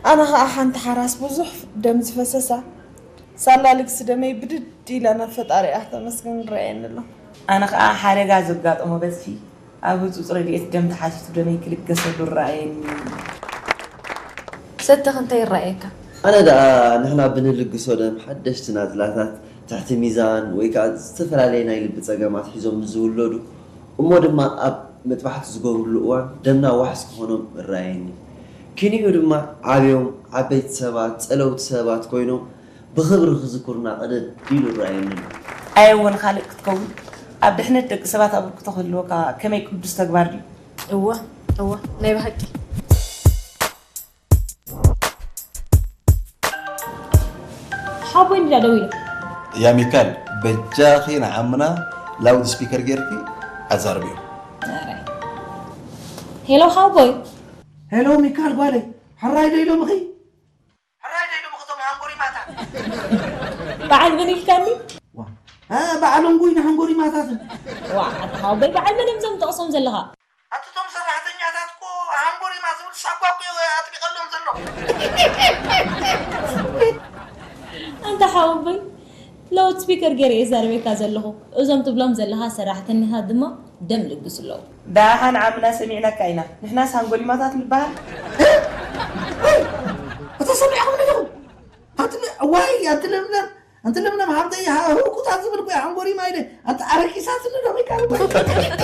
ኣነ ኸኣ ሓንቲ ሓራስ ብዙሕ ደም ዝፈሰሳ ሳላ ልግሲ ደመይ ብድድ ኢላ ናብ ፈጣሪኣ ተመስገን ይረኣየኒ ኣሎ። ኣነ ኸኣ ሓደጋ ዘጋጠሞ በጽሒ ኣብ ህጹጽ ረድኤት ደም ተሓቲቱ ደመይ ክልገሰሉ ይረኣየኒ። ሰተኽ እንታይ ይረኣየካ? ኣነ ደኣ ንሕና ብንልግሶ ደም ሓደሽቲ ናጽላታት ትሕቲ ሚዛን ወይ ከኣ ዝተፈላለየ ናይ ልቢ ጸገማት ሒዞም ንዝውለዱ እሞ ድማ ኣብ መጥባሕቲ ዝገብሩሉ እዋን ደምና ዋሕስ ክኾኖም እረኣየኒ። ኪኒኡ ድማ ዓብዮም ዓበይቲ ሰባት፣ ጸለውቲ ሰባት ኮይኖም ብኽብሪ ክዝክሩና ቅድድ ኢሉ እረኣየኒ ኣሎ። ኣየ እውን ካልእ ክትከውን ኣብ ድሕነት ደቂ ሰባት ኣበርክቶ ክህልወካ ከመይ ቅዱስ ተግባር ድዩ? እወ እወ ናይ ብሓቂ ሓቦይ እንዲዳ ደው ኢሉ። ያ ሚካል በጃኺ ንዓምና ላውድ ስፒከር ጌርኪ ኣዛርብዮ። ሄሎ ሓቦይ። ሄሎ ሚካል ጓለይ፣ ሕራይ ዶ ኢሎምኺ? ሕራይ ዶ ኢሎምኺ እቶም ሃንጎሪማታት? በዓል መን ኢልካኒ? በዓል እንጉይ ንሃንጎሪማታትን። ዋ ኣታ ሓቦይ በዓል መን እዮም እዞም ጠቕሶም ዘለኻ? ኣቲ እቶም ሰራሕተኛታት እኮ ሃንጎሪማ ዝብል ሳጓ እኮ እዩ ኣጥቢቐሎም ዘሎ። ኣንታ ሓወቦይ ላውድ ስፒከር ገይረ እየ ዛረበካ ዘለኹ። እዞም ትብሎም ዘለኻ ሰራሕተኛታት ድማ ደም ልግሱ ኣለዉ። ደሓን ዓምና ሰሚዕናካ ኢና። ንሕናስ ሃንጎሪማታት ንበሃል? እታ ሰሚዕኹም ዲኹም? ኣቲ ዋይ ኣቲ ለምለም ኣንቲ ለምለም ሃብተይ ህውኩታት ዝብል እኮ እዩ ሓንጎሪማ ኢለ ኣንቲ ኣረቂሳትኒ ዶ ወይ ካልእ